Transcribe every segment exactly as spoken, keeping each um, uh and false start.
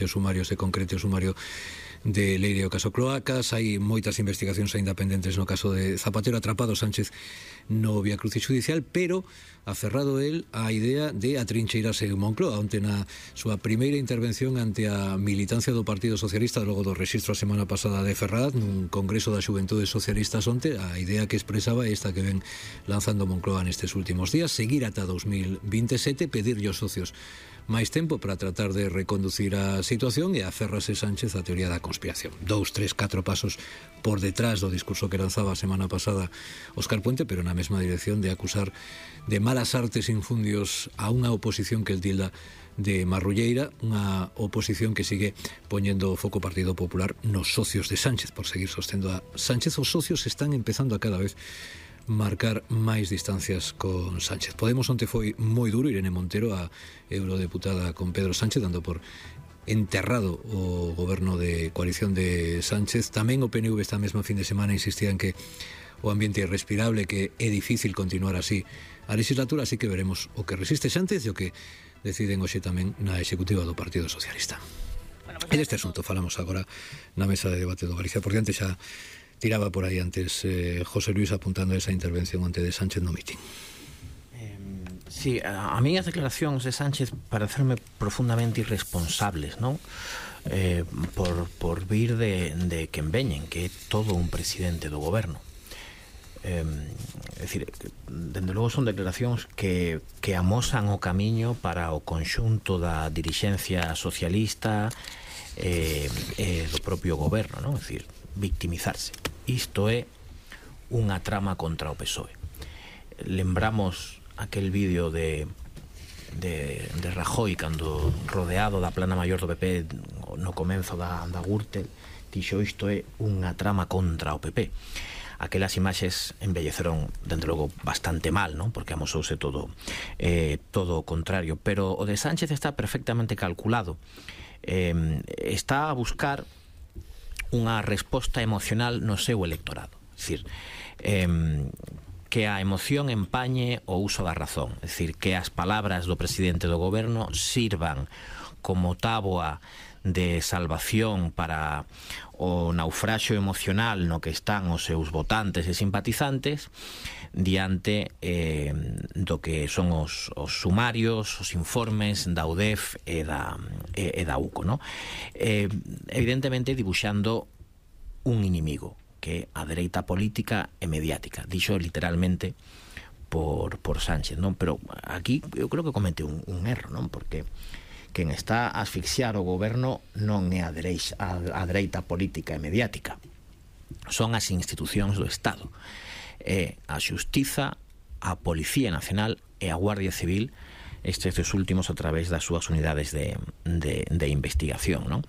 o sumario se concrete o sumario de Leire o caso Cloacas. Hai moitas investigacións aínda pendentes no caso de Zapatero, atrapado Sánchez no Vía Crucis judicial, pero aferrado el á idea de atrincheirase en Moncloa. Onte na súa primeira intervención ante a militancia do Partido Socialista logo do rexistro a semana pasada de Ferraz nun congreso da Xuventude Socialistas onte, a idea que expresaba é esta que ven lanzando Moncloa nestes últimos días: seguir ata dos mil veintisiete, pedirlle aos socios máis tempo para tratar de reconducir a situación, e aferrase Sánchez á teoría da conspiración. Dous, tres, catro pasos por detrás do discurso que lanzaba a semana pasada Óscar Puente, pero na mesma dirección de acusar de malas artes infundios a unha oposición que el tilda de marrulleira, unha oposición que sigue poñendo o foco Partido Popular nos socios de Sánchez por seguir sostendo a Sánchez. Os socios están empezando a cada vez marcar máis distancias con Sánchez. Podemos onte foi moi duro. Irene Montero, a eurodeputada con Pedro Sánchez, dando por enterrado o goberno de coalición de Sánchez. Tamén o P N V esta mesma fin de semana insistía en que o ambiente é respirable, que é difícil continuar así a legislatura, así que veremos o que resiste Sánchez e o que deciden hoxe tamén na executiva do Partido Socialista. E deste asunto falamos agora na mesa de debate do Galicia por diante. Xa tiraba por aí antes eh, José Luis apuntando esa intervención ante de Sánchez no mitin. Eh, sí, a, a mí as declaracións de Sánchez parecerme profundamente irresponsables, non? Eh, por, por vir de, de quen veñen, que é todo un presidente do goberno. Eh, é dicir, dende logo son declaracións que, que amosan o camiño para o conxunto da dirixencia socialista e eh, eh, do propio goberno, non? É dicir, victimizarse. Isto é unha trama contra o P S O E. Lembramos aquel vídeo de, de, de Rajoy cando rodeado da plana maior do P P no comenzo da, da Gürtel dixo: isto é unha trama contra o P P. Aquelas imaxes embelleceron, dentro logo, bastante mal, non? Porque amosouse todo eh, todo o contrario, pero o de Sánchez está perfectamente calculado. Eh, está a buscar unha resposta emocional no seu electorado. É dicir, eh, que a emoción empañe o uso da razón. É dicir, que as palabras do presidente do goberno sirvan como táboa de salvación para o naufraxio emocional no que están os seus votantes e simpatizantes diante eh, do que son os, os sumarios, os informes da U D E F e da, e, e da U C O, no? Eh, evidentemente dibuixando un inimigo, que é a dereita política e mediática. Dixo literalmente por, por Sánchez, non? Pero aquí eu creo que comete un, un erro, non? Porque quen está a asfixiar o goberno non é a dereita, a, a dereita política e mediática, son as institucións do Estado, é a Xustiza, a Policía Nacional e a Guardia Civil, estes dos últimos a través das súas unidades de, de, de investigación, non?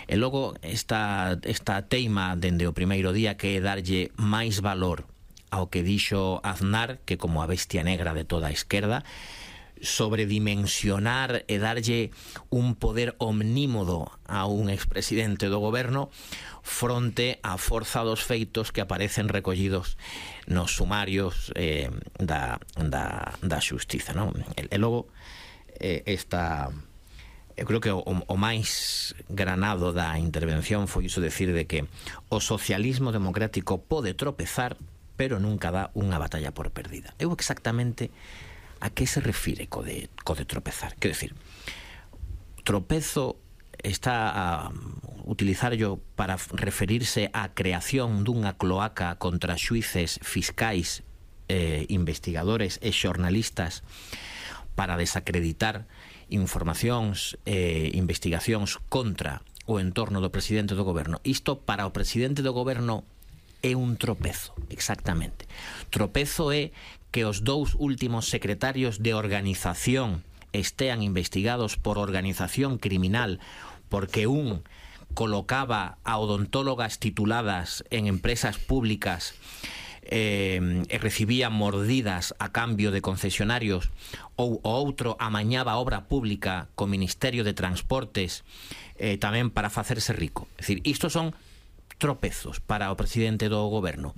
E logo esta, esta teima dende o primeiro día, que é darlle máis valor ao que dixo Aznar, que como a bestia negra de toda a esquerda, sobredimensionar e darlle un poder omnímodo a un expresidente do goberno fronte á forza dos feitos que aparecen recollidos nos sumarios eh, da, da, da xustiza, non? E, e logo eh, esta eu creo que o, o máis granado da intervención foi iso, decir de que o socialismo democrático pode tropezar, pero nunca dá unha batalla por perdida. Eu exactamente a que se refire co de, co de tropezar? Quero decir, tropezo está a utilizar yo para referirse á creación dunha cloaca contra xuíces, fiscais, eh, investigadores e xornalistas para desacreditar informacións e eh, investigacións contra o entorno do presidente do goberno. Isto para o presidente do goberno é un tropezo, exactamente. Tropezo é que os dous últimos secretarios de organización estean investigados por organización criminal porque un colocaba a odontólogas tituladas en empresas públicas eh, e recibía mordidas a cambio de concesionarios, ou o outro amañaba obra pública co Ministerio de Transportes eh, tamén para facerse rico. É dicir, isto son tropezos para o presidente do goberno.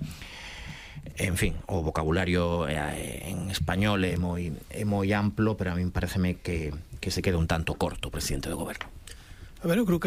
En fin, o vocabulario en español é moi, é moi amplo, pero a mí pareceme que, que se queda un tanto corto o presidente do goberno. A ver, eu creo que